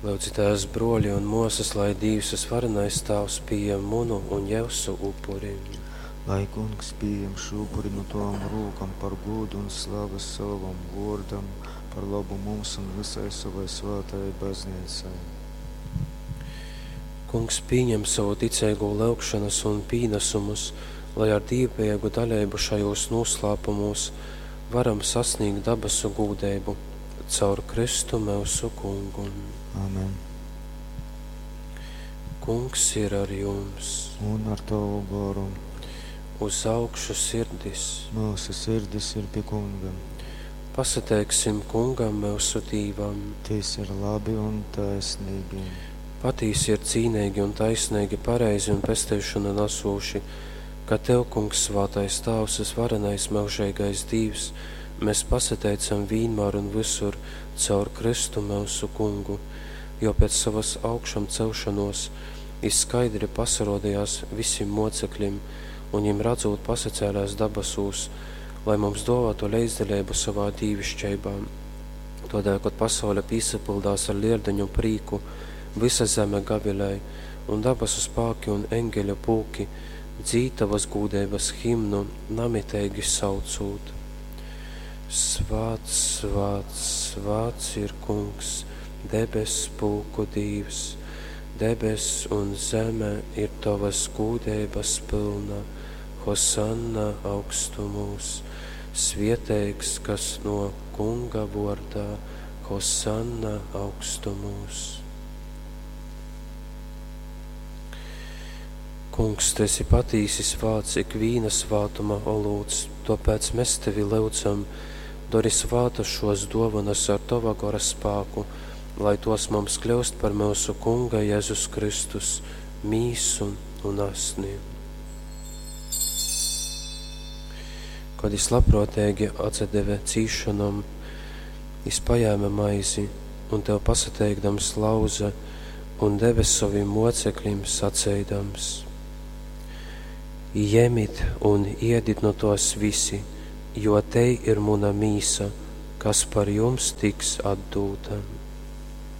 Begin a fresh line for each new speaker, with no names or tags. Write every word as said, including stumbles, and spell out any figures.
Lyudzitēs, bruoļi un muosys, lai Dīvs vysvarenais Tāvs pījem munu un jiusu upuri.
Lai Kungs pījem šū upuri nu tovom rūkom par gūdu un slavu sovam vōrdam, par lobu mums un vysai sovai svātajai Bazneicai.
Kungs pīņem sovu ticeigū lyugšonys un pīnasumus, lai ar dīvbejeigu daleibu šajūs nūslāpumūs varam sasnīgt dabasu gūdeibu. Caur Kristu myusu Kungu.
Amen.
Kungs ir ar jums.
Un ar tovu goru.
Uz augšu sirdis.
Myusu sirdis ir pi Kunga.
Pasateiksim Kungam, myusu Dīvam.
Tys ir labi un taisnīgi.
Patīsi ir cīneigi un taisneigi, pareizi un pesteišonu nasūši, ka Tev, Kungs, svātais Tāvs, vysvarenais myužeigais Dīvs, mēs pasateicam vīnmār un vysur caur Kristu myusu Kungu, jo pēc sovas augšamcelšonōs jis skaidri pasarodījās visim mocekļim un jim radzūt pasacēlēs dabasūs, lai mums dōvātu leidzdaleibu sovā dīvišķeibā. Todēļ, kod pasaule pīsapyldās ar leldiņu prīku, vysa zeme gavilēja, un dabasu spāki un eņgeļu pulki dzīd tavas gūdeibas himnu, namiteigi saucūt: Svāts, svāts, svāts ir Kungs, debess pulku Dīvs, debess un zeme ir tovas gūdeibas pylna, Hosanna augstumūs, svieteigs, kas no Kunga vōrdā, Hosanna augstumūs. Kungs, tu esi patīsi svāts, ikvīna svātuma olūts, tōpēc mēs tevi lyudzam, dori svātas šos dōvanas ar tova gora spāku, lai tos mums kļūst par myusu Kunga Jēzus Kristus mīsu un asni. Kad jis labprōteigi atsadeve cīsšonom, jis pajēme maizi un tev pasateikdams lauze un deve sovim mocekļim saceidams: Jemit un iedit nu tōs visi, jo tei ir muna mīsa, kas par jums tiks atdūta.